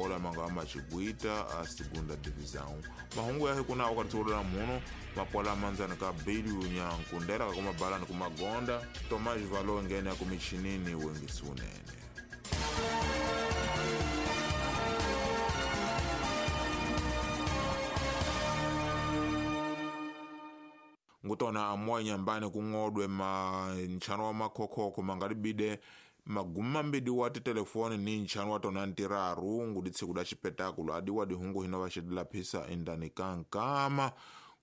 futebol amanga machigwita a segunda divisão. Mahungu yahe kuna wakati muno mapola manzana ka bilu nyankundera kuma balani kumagonda Tomás Valo ngene kumichinini wengi sunene. Ngutona amwa nyambani kung'odwe ma nchano wa makhokoko mangalibide maguma mbidi wati telefoni ni nchano wa tona ntiraru nguditsi kuda chipetakulo adi wadi hungu hino vachidila phisa indani kankama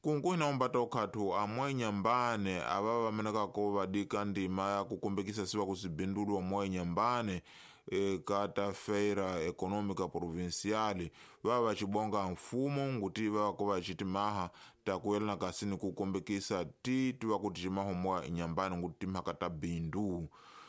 kunku hinaombata okhatu amwa nyambane ava vamenekako vadika ndima ya kukumbikisa siwa kusibindulwa mwa nyambane kata feira econômica provincial vava vachibonga mfumo nguti vavako vachitimaha takuelana kasini kukumbikisa ti vakuti cimaho mwa nyambane nguti timhaka ta bindu.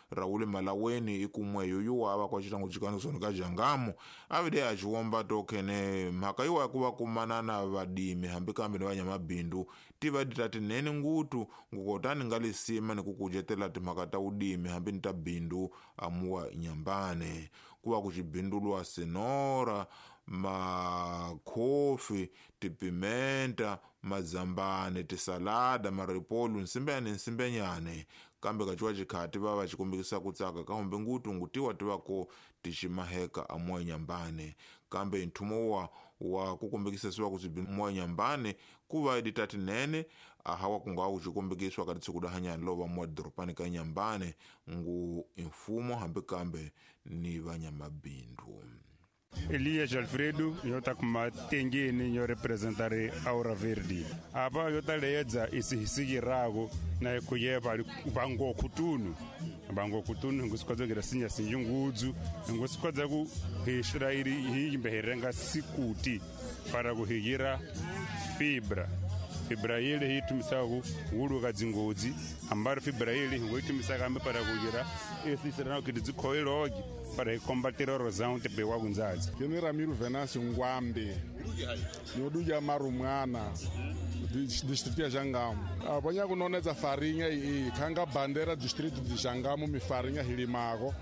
Raul Malaweni ikumwe yuyu ava kwa chitango chikano ka jangamu avide achiwomba tokene mhaka iwa yakuva kumana na vadimi hambi kambe ni vanyamabindu tivadi tati nene ngutu ngukotani ngalisima nikukujetela timhaka ta udimi hambi ni ta bindu amuwa nyambane kuva kuchibindulwa senora makhofi tipimenta mazambane tisalada maripolu nsimbenyane nsimbenyane kambe kachiwa chikhati vava vachikumbikisa kutsaka kahombe ngutu ngutiwa tivako tichimaheka amuwa nyambane kambe nthumo wa kukumbikisa siwa kutsibi muwa nyambane kuva iditati nene ahawa kungawa kuchikumbikiswa kati tsikudahanyani lova muwa doropani ka nyambane ngu mfumo hambi kambe ni vanyamabindu. Elias Alfredo yota kumatengeni yo representare Aura Verde. Apa yota leedza isihisigirago na kuyeva bango kutunu. Bango kutunu ngusikodza sinya sinjungudzu ngusikodza ku hishirairi hiyimbeherenga sikuti para kuhiyira fibra. Fibra ile hitumisa ku dzingodzi ambaro fibra ile ngoitumisa kambe para kuhiyira esisirana kuti dzikhoilogi para combater a erosão te bewa kunzadzi. Kene Ramiro Venâncio Ngwambe nyoduja marumwana distrito ya Jangamo. Abanya kunonedza farinha iyi khanga bandera distrito de Jangamo mi farinha hilimako.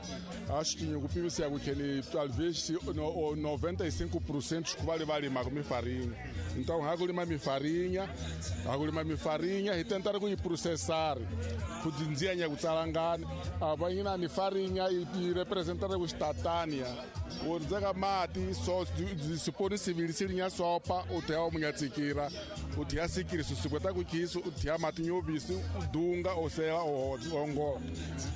Acho que nyokupimisa kukheni talvez 95% kubali balima mi farinha. Então hakulima mi farinha, hakulima mi farinha e tentar kuyiprocessar. Kudzinzianya kutsalangana. Abanya ni farinha e representar kustatania. Udzaka mati so siponi civil silinya sopa uthaya munyatsikira uthaya sikiri susikweta kukiso uthaya mati nyobisi udunga osela ongo.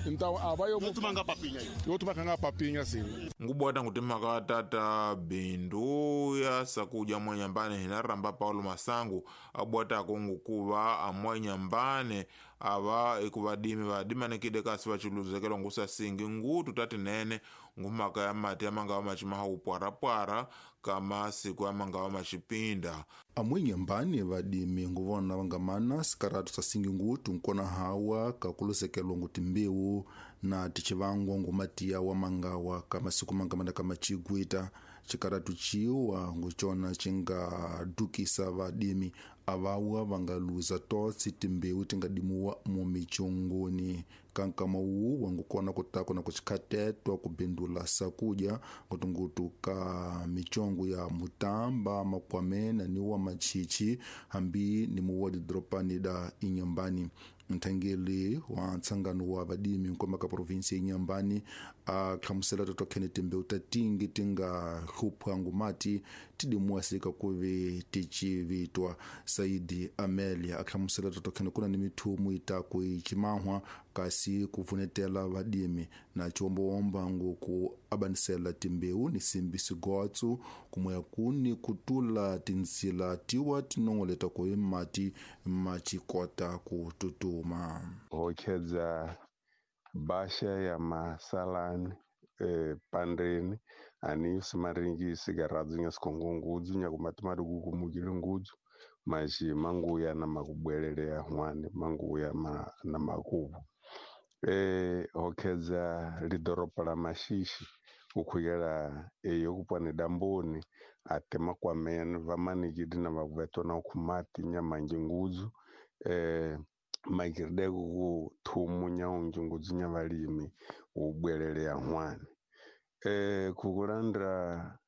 Então abayo yotumanga papinya yotumanga papinya sini ngubwata nguti mhaka tata bindu ya sakuja mwanyambane hinaramba Paulo Masangu abwatako ngukuva amwanyambane ava ikuvadimi vadimanikide kasi vachiluzekelo ngusasingi ngutu tati nene ngumhaka ya mati amangawa machimaha upwarapwara kama siku amangawa machipinda. Amwenyambane vadimi nguvona vangamana sikaratu sasingi ngutu nkona hawa kakuluzekelwa nguti mbewu na tichivangwa ngumatiya wa mangawa kama siku mangamana kama chigwita chikaratu chiwa nguchona chingadukisa vadimi avawa vangaluza totsi timbewu tingadimuwa mumichongoni kankama uwu wangukona kutako na kuchikhatetwa kubindula sakudya ngutungutu ka michongo ya mutamba makwamena ni wa machichi hambi ni muwa didropani da inyambani. Nthangeli wa ntsangano wa vadimi nkomba ka provinsi ya Inyambani a hlamusela totokhene timbewu ta tingi ti nga hluphwa ngumati ti dimuwasika kuve ti civitwa. Saidi Amelia a hlamusela totokhene kuna ni mithumu itaku icimahwa kasi ku pfunetela vadimi na ciwombowomba ngoku abanisela timbewu ni simbi sigotsu kumoya kuni kutula tinzila tiwa tinongoleta ku mati macikota ku tutuma. Hokhedza basha ya masalani pandeni ani simaringi sigaradzu nya sikhongongudzu nya kumati kukumukile ngudzu maji manguya na makubwelele ya hwane manguya na makubu. Hokhedza lidoropo la Mashishi ukhuyela eyo kupwane damboni ate makwamene vamanikiti na vakuvetwa na ukhumati nyamanji ngudzu maikiride ku thumu nyaunji ngudzu nya valimi ubwelele ya hwane. Kukulandra